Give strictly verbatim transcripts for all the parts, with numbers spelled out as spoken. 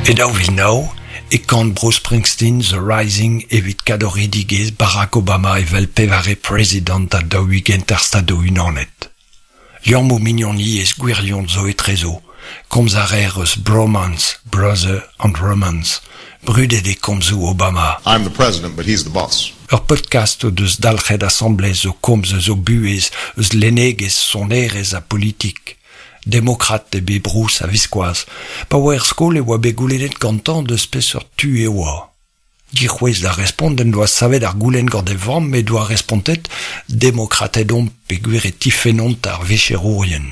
E daou vil nav e kan Bruce Springsteen The Rising evit kadoridigezh Barack Obama evel pevare prezidant ha daou-ugent ar Stadoù-Unanet. Liammoù mignoniezh gwirion zo etrezo. Komz a reer eus bromance, brother and romance. Brudet eo komzoù Obama. I'm the president, but he's the boss. Ur podcast o deus dalc'het asambles o komz eus o buhez, eus lennegezh, sonerezh ha politik. Demokrat eo bet Bruce a-viskoazh. Pa oa er skol e oa bet goulennet gantañ deus peseurt tu e oa. Dic'houest da respont en doa savet ar goulenn gant e vamm he doa respontet demokrated omp peogwir e tifennont ar vicherourien.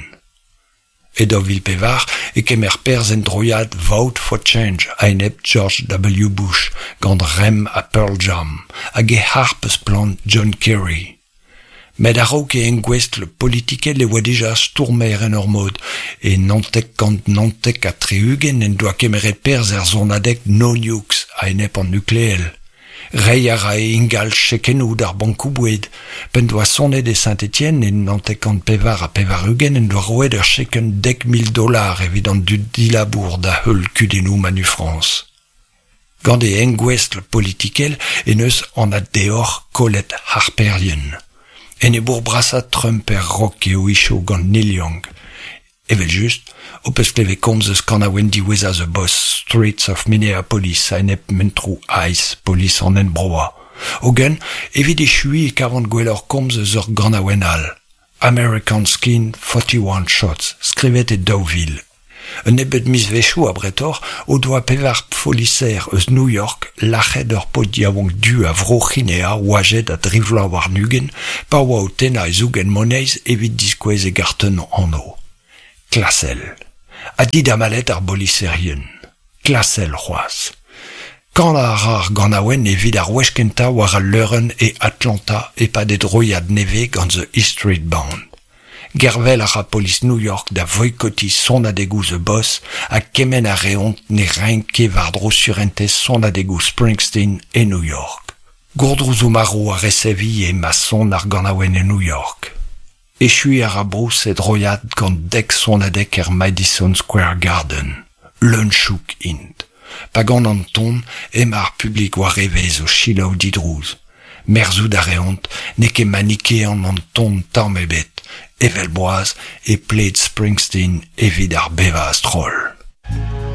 E daou vil pevar e kemer perzh en droiad Vote for Change a-enep George W. Bush gant Rem ha Pearl Jam hag e harp eus plan John Kerry. Met a-raok e engouestl politikel e oa dija stourmer en ur mod. E naontek kant naontek ha tri-ugent en doa kemeret perzh er sonadeg No Nukes a-enep an nukleel. Reiñ a rae ingal chekennoù d'ar bankoù-boued. P'en doa sonet e Saint-Étienne e naontek kant pevar ha pevar-ugent en doa roet ur chekenn dek mil dollar evit an dud dilabour da heul kudennoù Manufrance. Gant e engouestl politikel en deus anat deoc'h kollet harperien. Enebour brasañ Trump er rock eo hiziv gant Neil Young. Evel-just, ho peus klevet komz eus kanaouenn diwezhañ The Boss, Streets of Minneapolis a-enep mentroù ICE, polis an enbroañ. Hogen, evit echuiñ e kavan gwelloc'h komz eus ur ganaouenn all. American Skin, forty-one Shots, skrivet e daou vil. Un nebeud mizvezhioù abretoc'h o doa pevar foliser eus New York lac'het ur paotr yaouank du a Vro-C'hinea oajet a dri vloaz warn-ugent pa oa o tennañ e zougen moneiz evit diskouez e gartenn anv. Klasel. Ha didamallet ar boliserien. Klasel c'hoazh. Kanañ a ra ar ganaouenn evit ar wech kentañ war al leurenn e Atlanta e-pad e droiad nevez gant The E Street Band. Gervel a ra polis New York da voikotiñ sonadegoù The Boss ha kemenn a reont ne raint ket war-dro surentez sonadegoù Springsteen e New York. Gourdrouzoù marv a resev ivez ma son ar ganaouenn e New York. Echuiñ a ra Bruce e droiad gant dek sonadeg er Madison Square Garden. Leun-chouk int. Pa gan an ton emañ ar publik war evezh o selaou didrouz. Merzout a reont n'eo ket manikean an ton tamm ebet. Evel boaz e pled Springsteen evit ar bevañ a-stroll.